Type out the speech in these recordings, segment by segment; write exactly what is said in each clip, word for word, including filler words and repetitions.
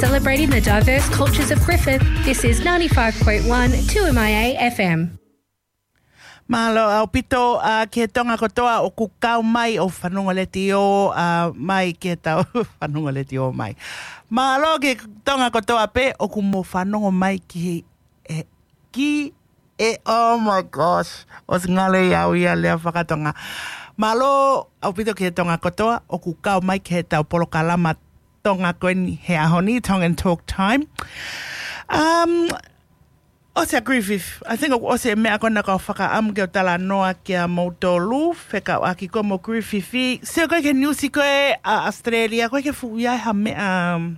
Celebrating the diverse cultures of Griffith, this is ninety-five point one two M I A F M. Mālō ʻaupito, ā, ki he Tonga kotoa ʻoku kau mai ʻo fanongo letiō, ā, mai ki he tau fanongo letiō mai. Mālō ki he Tonga kotoa pē ʻoku mou fanongo mai ki he, e, ki e, oh my gosh, ʻosi ngalo ʻiate au ia lea fakatonga. Mālō ʻaupito ki he Tonga kotoa ʻoku kau mai ki he tau polokalama Tonga ko eni he ʻaho ni, Tongan Talk Time. Um, ʻosi ʻa Griffith, I think ʻoku ʻosi e meʻa ko ena kau fakaʻamu ke u talanoa kia moutolu, fekauʻaki ko mo Griffith. Sio ko e ki he niusi ko ē ʻa Australia, ko e ki he fuʻu ia ha meʻa, um,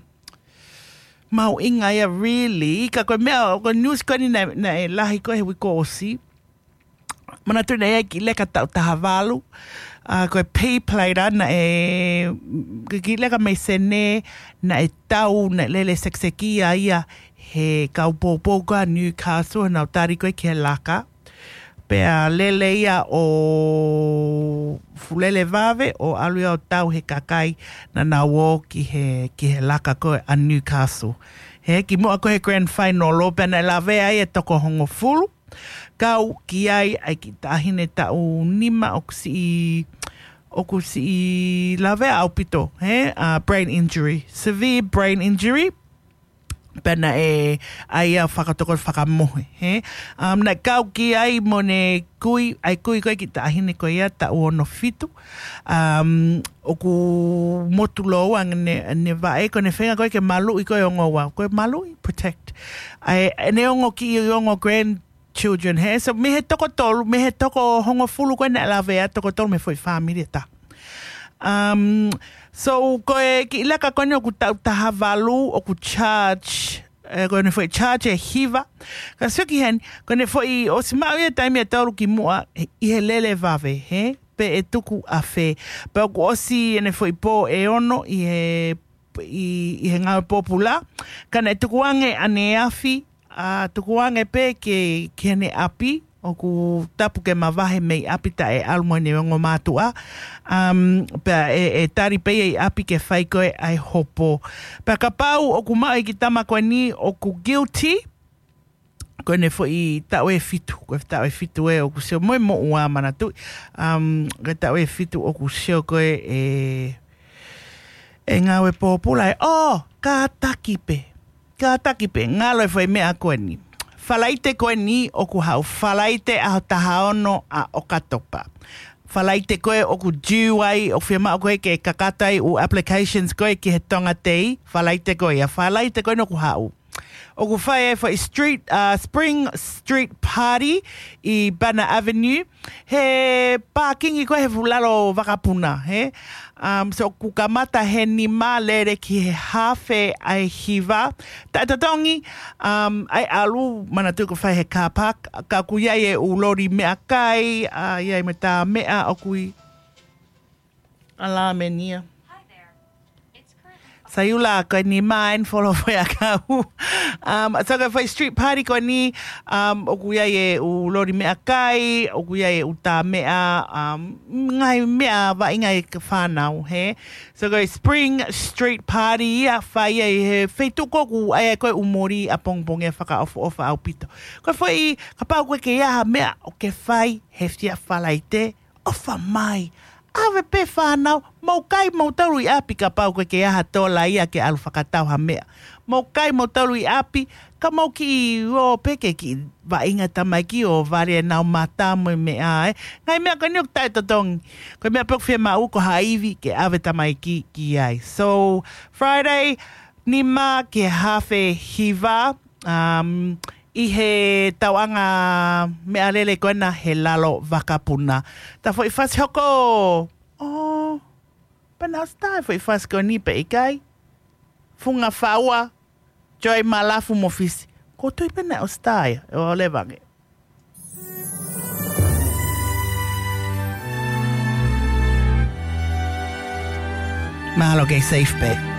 mahuʻinga ia really, ka ko e meʻa, ko e niusi ko eni naʻe, naʻe lahi ko ē he uike ʻosi. Manatuʻi naʻe ʻi ai e kiʻi leka taʻu taha valu, ā, ko e pay plate naʻe, ko e kiʻi leka mei Senē, naʻe tau, naʻe lele sekisekia ia he kau poupou ko ē ʻa Newcastle, nau tali ko ē ki he laka. Pea lele ia ʻo fulele vave, ʻo ʻalu ia ʻo tau he kakai naʻa nau ō ki he, ki he laka ko ē ʻa Newcastle. He kimuʻa ko ē he grand final, pea naʻe lavea ai e toko hongofulu. Kau ki ai ʻa e kiʻi taʻahine taʻu nima ʻoku siʻi, ʻoku siʻi lavea ʻaupito, he, ā, brain injury, severe brain injury. Pea naʻe ʻai ia fakatoko fakamohe, he. Um, naʻe kau ki ai mo ʻene kui, ʻa e kui ko ē kiʻi taʻahine ko ia taʻu ono fitu. Um, ʻoku motu lōua ʻene, ʻene vaʻe, ko ʻene feinga ko ē ke maluʻi ko ē ongo ua, ko e maluʻi, protect. ʻA e, ʻene ongo kiʻi ongo grand children, he. So, mei he toko tolu, mei he toko hongofulu ko ē naʻe lavea, toko tolu mei he foʻi family ʻe taha. Um, so, ko e kiʻi leka ko eni ʻoku taʻu taha valu, ʻoku charge, e, ko ʻene foʻi charge ʻe hiva. Ka sio ki heni, ko ʻene foʻi ʻosi maʻu ia taimi ʻe tolu kimuʻa, ʻi he lele vave, he, pe ʻe tuku ʻa fē. Pea ʻoku ʻosi ʻene foʻi pō ʻe ono ʻi he, ʻi, ʻi he ngāue pōpula. Ka naʻe tukuange ʻaneafi, ā, tukuange pē ke, ki heʻene ʻapi, ʻoku tapu ke mavahe mei ʻapi taʻe ʻalu mo ʻene ongo mātuʻa. Um, pea ʻe, ʻe tali pē ia ʻi ʻapi ke fai ko ē ʻa e hopo. Pea kapau ʻoku maʻu e kiʻi tama ko eni ʻoku guilty, ko ʻene foʻi taʻu ʻe fitu, ko e taʻu ʻe fitu ē ʻoku sio mo e moʻua manatuʻi. Um, ko e taʻu ʻe fitu ʻoku sio ko ē ʻe, ʻe ngāue pōpula ē. ʻO, kātaki pē. Kātaki pē, ngalo e foʻi meʻa ko eni. Falaite ko eni ʻoku haʻu, Falaite ʻaho taha ono ʻa ʻOkatopa. Falaite ko ē ʻoku due ai, ʻoku fiemaʻu ko ē ke kakato ai ʻū applications ko ē ki he Tonga Day, Falaite ko ia, Falaite ko eni ʻoku haʻu. ʻOku fai e foʻi street, uh, Spring Street Party ʻi Banner Avenue. He pākingi ko ē he fuʻu lalo vakapuna, he. Um, so ʻoku kamata he nima lele ki he haafe ʻa e hiva. Taʻetotongi, um, ʻai ʻalu manatuʻi ʻoku fai he car park, ka ʻoku ʻi ai e ʻū loli meʻakai, ā, ʻi ai mo e tā meʻa ʻoku ʻi ʻAlamenia. Saiula, ko e nima eni folo foʻi ʻakau. Um, so ko e foʻi street party ko eni, um, ʻoku ʻi ai e ʻū loli meʻakai, ʻoku ʻi ai e ʻū tā meʻa, um, ngaahi meʻa vaʻinga ʻa e fānau, he. So ko e Spring Street Party ia fai ai he feituʻu ko ē ʻoku ʻi ai ko ē ʻū moli ʻapongipongi ʻe fakaʻofoʻofa ʻaupito. Ko e foʻi, kapau ko ē ke ʻi ai ha meʻa ʻoku ke fai he fiha Falaite, ʻofa mai. ʻAve pē fānau, mou kai moutolu ʻi ʻapi kapau ko ē ke ʻi ai ha tola ia ke ʻalu fakatau ha meʻa. Mou kai moutolu ʻi ʻapi, ka mou kiʻi ō pē ke kiʻi vaʻinga tamaiki ʻo vale ʻenau mata mo e meʻa, ē. Ngaahi meʻa ko eni ʻoku taʻetotongi. Ko e meʻa pē ʻoku fiemaʻu ko ha ivi ke ʻave tamaiki ki ai. So, Friday, nima ki he haafe hiva, um, ʻi he tauʻanga meʻalele ko ena he lalo vakapuna. Tā foʻi fasi hoko, ʻo, pena ʻosi tā e foʻi fasi ko eni pe ʻikai. Funga faua, Joy Malafu mo Fisi. Ko tui pena ʻosi tā ia, ʻe ʻo leva ange. Mahalo kei safe pē.